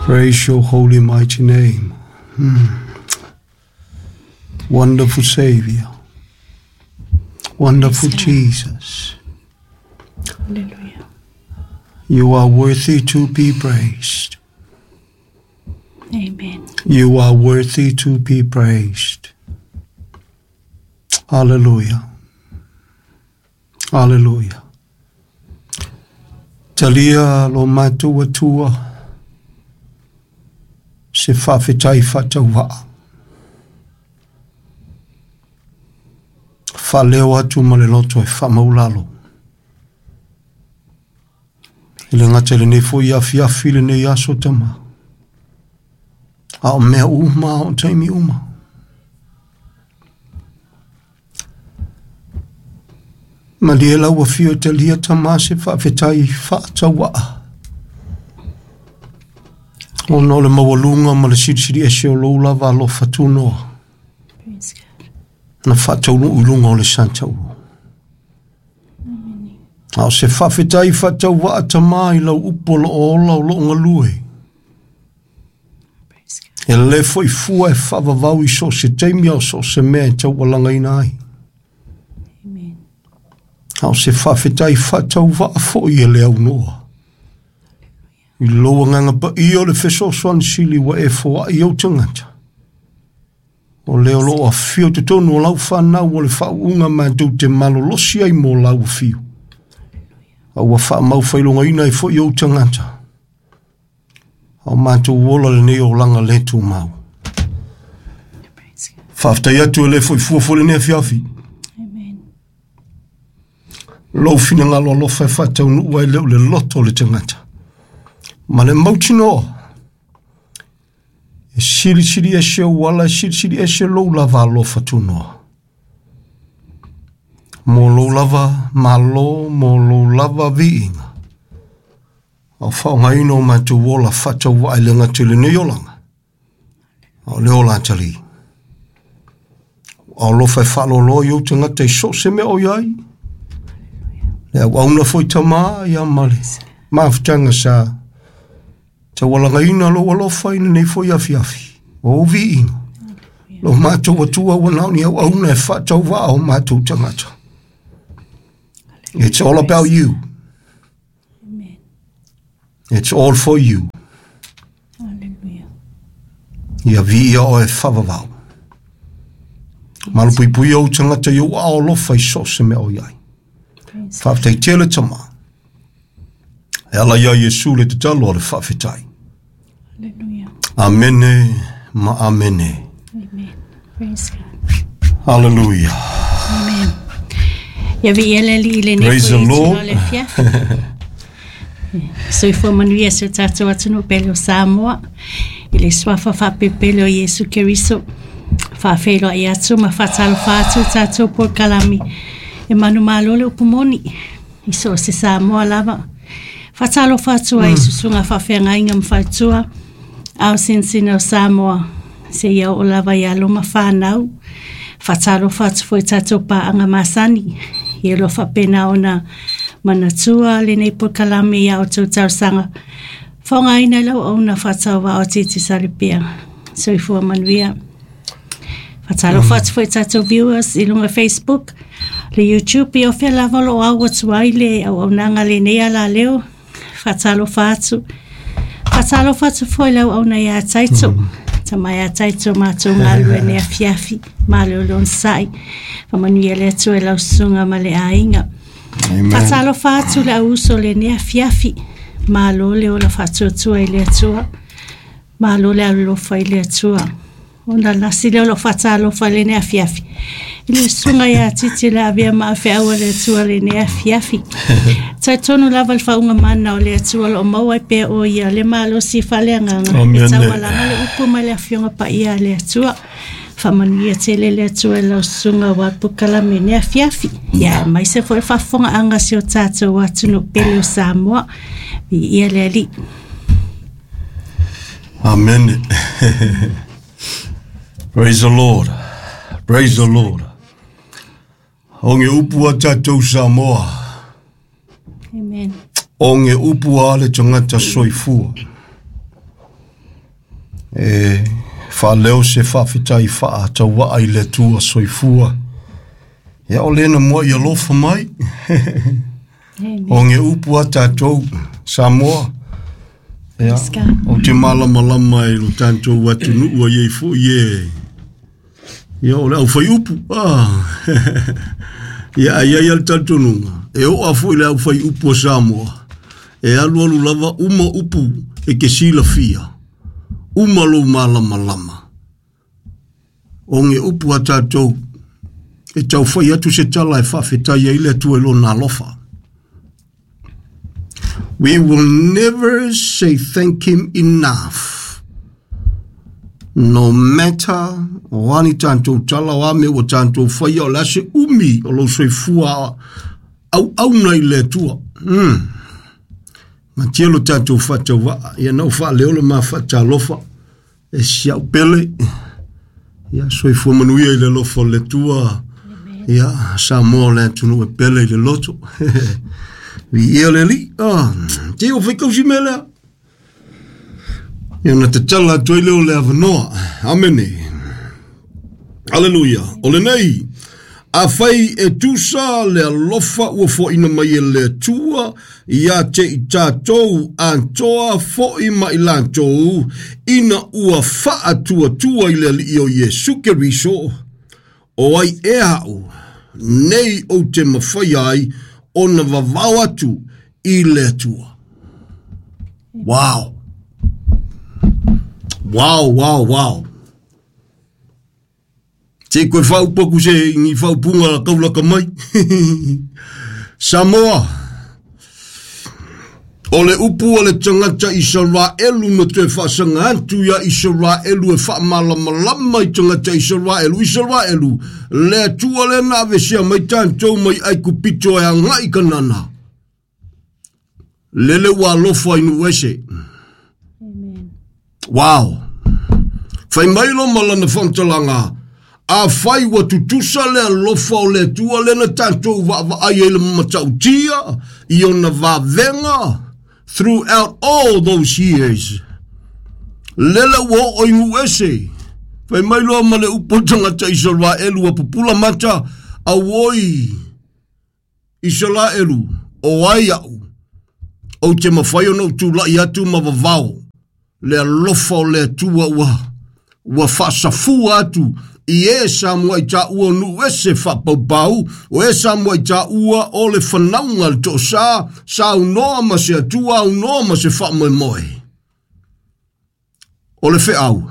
Praise your holy mighty name. Wonderful Savior. Wonderful Praise God. Jesus. Hallelujah. You are worthy to be praised. Amen. You are worthy to be praised. Hallelujah. Hallelujah. Talia lo matou atua se faafetai faatauvaa. Faaleo atu ma le loto e faamaulalo. I le gata i lenei foi afiafi lenei aso tama. A o mea uma, a o taimi uma. Malie lau afio e talia tama se faafetai faatauaa. Ona o le maualuga ma le silisili ese o lou lava alofa tunoa. Praise God. Na faataunuu i luga o le sa taua. A o se faafetai faatauvaa tama i lau upu o loo ola o loo galue. Praise God. E le foi fua e faavavau i so o se taimi a o so o se mea e taualagaina ai. Amen. A o se faafetai faatauvaa foi e le aunoa. I lou agaga paia o le fesoasoani sili ua e foai ou tagata. O lea o loo afio totonu o lau whanau o le faauuga matou te malolosi ai mo lau afio. A ua faamau faailogaina ai foi ou tagata. A o matou ola lenei olaga le tumau. Praise God. Faafetai atu e le foi fua foi lenei afiafi. Amen. Lou finagalo alofa e faataunuu ai lea o le loto o le tagata. Ma le mautinoa, e silisili ese ou ala, e silisili ese lou lava alofa tunoa. Mo lou lava malo, mo lou lava viiga. A o faaaogaina o matou ola faatauvaa i le gata i lenei olaga. A o le ola atalii. A o alofa e faaloloa i ou tagata i so o se mea o i ai. Le auauna foi tama ia ma le mafutaga sa taualagaina lou alofa i lenei foi afiafi. O ou viiga. Lo matou atua ua na o ni auauna e faatauvaa o matou tagata. It's all about you. Amen. It's all for you. Hallelujah. Ia viia oe faavavau. Malupuipuia ou tagata i ou aao alofa i so o se mea o i ai. Praise God. Faafetai tele tama. E ala ia Iesu le tatalo a le faafetai. Hallelujah. Amene ma amene. Amen. Praise God. Hallelujah. Amen. Ia viia le Alii i lenei Praise foi the itula Lord. o le afiafi. Soifua manuia si o tatou atunuu pele o Samoa i le suafa faapepele o Iesu Keriso. Faafeiloai atu ma faatalofa atu i tatou polokalame e manumalo le upu moni i so o se Samoa lava. Faatalofa atu ai i susuga faafeagaiga ma faletua ao sinasina o Samoa seia oo lava ia alo ma whanau. Faatalofa atu foi i tatou paaga masani. Ia loa faapena ona manatua lenei polokalame ia outou talosaga. Faaaogaina i lau auauna faatauvaa o Titi Salipea. Soifua manuia. Faatalofa atu foi i tatou viewers i luga Facebook, le YouTube, ia o fea lava o loo au atu ai le auaunaga lenei alaleo. Faatalofa atu. Faatalofa atu foi i lau auauna ia Taito. Tama ia Taito matou galulue nei afiafi. Malo le onosai. Faamanuia le Atua i lau susuga ma le aiga. Amen. Faatalofa atu le auuso lenei afiafi. Malo le ola faatuatua i le Atua. Malo le alolofa i le Atua. Ona lasi lea o lou faatalofa i lenei afiafi. I le susuga ia Titi le avea ma afeau a le Atua lenei afiafi. Talitonu lava le faauga mana o le Atua o loo maua ai pea o ia le malosi faaleagaga. E Amen. taualaga le upu mai le afioga paia a le Atua. Faamanuia tele le Atua i lau susuga aua polokalame lenei afiafi. Ia aemaise foi le faafofogaaga a si o tatou atunuu pele o Samoa. Viia le Alii. Amen. Praise the Lord. Praise the Lord. O ge upu a tatou Samoa. Amen. O ge upu a le tagata soifua. E faaleo se faafetai faatauaa i le Atua soifua. Ia o lena mua i alofa mai. O ge upu a tatou Samoa. Ia, o te malamalama i lo tatou atunuu ai ai foi e. Ia o le au fai upu. Ah. Ia ai ai al talitonuga. E oo a foi le au fai upu o Samoa. E alu alu lava uma upu e ke silafia. Uma lou malamalama. O ge upu a tatou e tau fai atu se tala e faafetai ai le Atua i lona alofa. We will never say thank him enough. No matter o ani tatou tala o a mea ua tatou faia o le a se umi o lou soifua auauna i le Atua. Matia lo tatou faatauvaa, ia na ou faaleo le ma faatalofa e si au pele. Ia soifua manuia i le alofa o le Atua. Ia Samoa o le atunuu e pele i le loto. Viia le Alii. Ah, te o faikausi mea lea. Ia na tatala atu ai lea o le avanoa. Amene. Aleluia. O lenei, afai e tusa le alofa ua foaina mai e le Atua ia te i tatou atoa foi ma i latou ina ua faatuatua i le Alii o Iesu Keriso, o ai ea a'u nei ou te mafai ai ona vavao atu i le Atua. Wow. Wow, wow, wow. Te koe whaupaku se ni whaupunga la kaulaka mai. Samoa. O le upu a le tagata Isaraelu na toe faasaga atu ia Isaraelu e faamalamalama i tagata Isaraelu. Isaraelu, le Atua lea na avesea mai tatou mai Aikupito e agai i Kanana. Lele ua alofa i nuu ese. Amen. Wow. Fai mai lo ma lana faamatalaga, afai ua tutusa le alofa o le Atua lea na tatou vaavaai ai le matautia i ona vavega throughout all those years. Lele ua oo i nuu ese. Fai mai loa ma le upu o le tagata Isaraelu ua pupula mata, auoi Isaraelu, o ai a'u, ou te mafai ona ou tulai atu ma vavao le alofa o le Atua ua faasafua atu i e sa muai taua o nuu ese faapaupau, o e sa muai taua o le fanauga le toosā, saunoa ma se Atua, aunoa ma se faamoemoe. O le feau,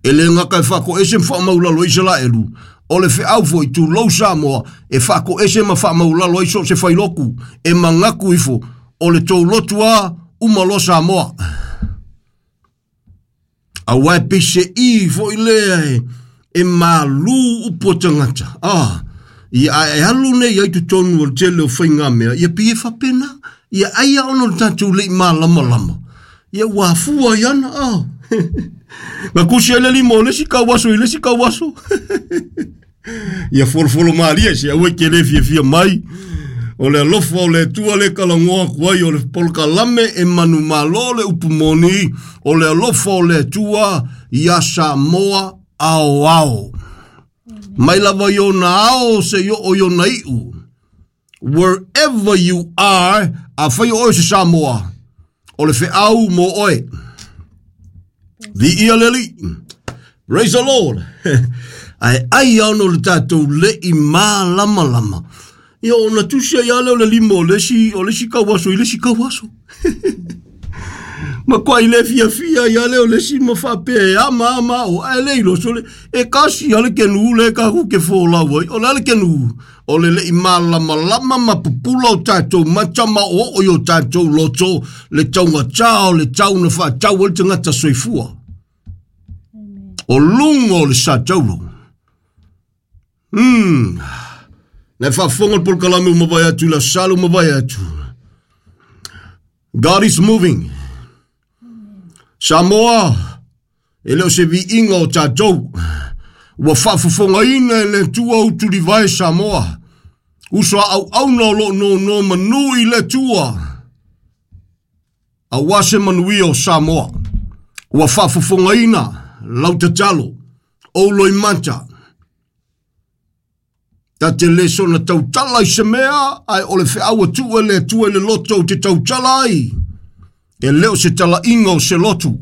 e le gata e faakoese ma faamaulalo ai Isaraelu, o le feau foi tulou Samoa e faakoese ma faamaulalo ai so o se failoku e manatu ifo o le tou lotu a uma loa Samoa. Aua e peise'i foi lea e malū upu o tagata. Ah, ia a e alu nei ai totonu o le tele o faigamea, ia pei e faapena. Ia ai a ona o le tatou le i malamalama. Ia ua afua ai ana. Ah. Na kusi ai le lima o le isi kauaso i le isi kauaso. Ia folofolo malie se aua e te le fiafia mai. O le alofa o le Atua le talanoa atu ai o le polokalame e manumalo le upu moni o le alofa o le Atua ia Samoa aoao. Mai lava i ona ao seia oo i ona iu. Wherever you are, afai o oe o se Samoa, o le feau mo oe. Viia le Alii. Praise the Lord. Ae ai a ona o le tatou le i malamalama. Ia ona tusi ai lava lea o le lima o le isi kauaso i le isi kauaso. Makuai le fiafia ai lava lea o le isi ma faapea e ama ama o, ae le iloa sole, e kasi lava le kenu lea tatou te folau ai. O le a le kenu? O le le i malamalama ma pupula o tatou mata ma oooo i o tatou loto le taugata o le tau na faatau ai le tagata soifua. O luga o le sa taulo. Na e faafofoga le polokalame ua mavae atu i le Aso Sa ua mavae atu. God is moving. Samoa, e le o se viiga o tatou. Ua faafofogaina e le Atua utulivae Samoa. Uso a auauna o lo o nonomanu i le Atua. Aua se manuia o Samoa. Ua faafofogaina. Lau tatalo, ou loimata, ta te le soona tautala i se mea, ae o le feau a tuu e le Atua i le loto ou te tautala ai, e le o se talaiga o se lotu.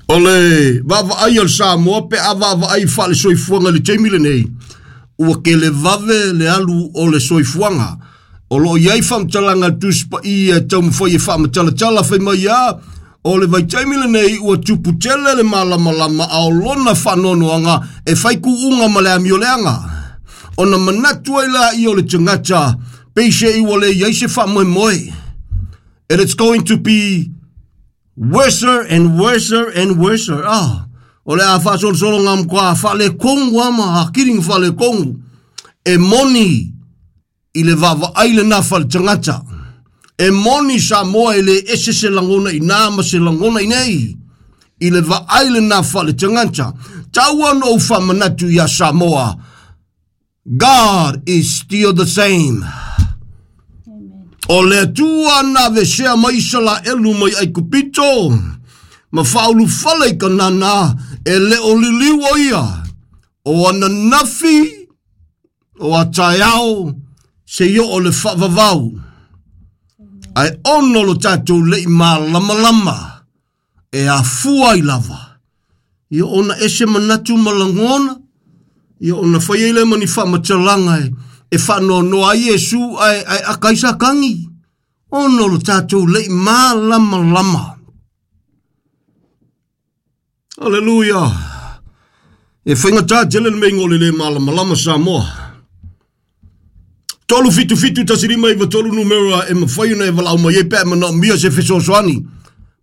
O le vaavaai a le Samoa pe a vaavaai faale-soifuaga i le taimi lenei, ua kelevave le alu o le soifuaga. O lo o i ai faamatalaga a le Tusi Paia e taumafai e faamatalatala fai mai a, o le vaitaimi lenei ua tupu tele le malamalama a o lona faanoanoaga e fai kuuga ma le amioleaga. Ona manatu ai laia o le tagata, peiseai ua le i ai se faamoemoe. And it's going to be worser and worser and worser. Ah, o le a faasolosolo ngā mkoa faaletonu ama akili nga faaletonu. E moni i le vaavaai lena faale-tagata. E moni Samoa e le ese se lagona i nā ma se lagona i nei. I le vaai lena faale-tagata. Tau ona ou faamanatu iā Samoa. God is still the same. O le Atua na aveesea mai Isalaelu mai Aikupito ma faaulufale i Kanana, e le o liliu o ia, o ananafi, o a taeao, seia oo i le faavavau. Ae ono lo tatou le i malamalama e afua ai lava. Ia ona ese manatu ma lagona, ia ona fai ai lea ma ni faamatalaga e, e faanoanoa ai Iesu ae, ae aka ai Satani. Ona o lo tatou le i malamalama. Aleluia! E faigata tele le meiga o le le malamalama Samoa. 377 1593 numera e mafai ona e valaau mai ai pe a e manaomia se fesoasoani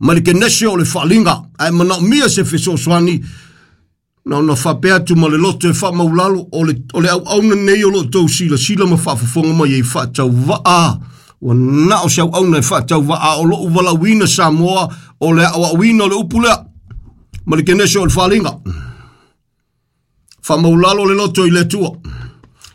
ma le kenese o le faaaliga, a e manaomia se fesoasoani na ona faapea atu ma le loto e faamaulalo o le, o le auauna nei o lo o tou silasila ma faafofoga mai ai faatauvaa ua na o se auauna e faatauvaa o lou valaauina Samoa o le aoaoina o le upu lea ma le kenese o le faaaliga. Faamaulalo le loto i le Atua.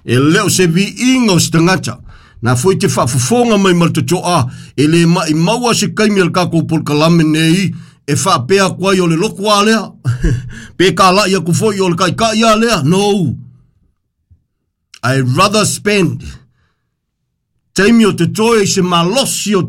E le o se viiga o se tagata. Na foi te faafofoga mai ma le totoa, e le maimau se taimi o le tatou polokalame nei e faapea atu ai o le lotu a lea. Pe kalai atu foi o le taitai a lea. No. I rather spend taimi o totoe i se malosi o te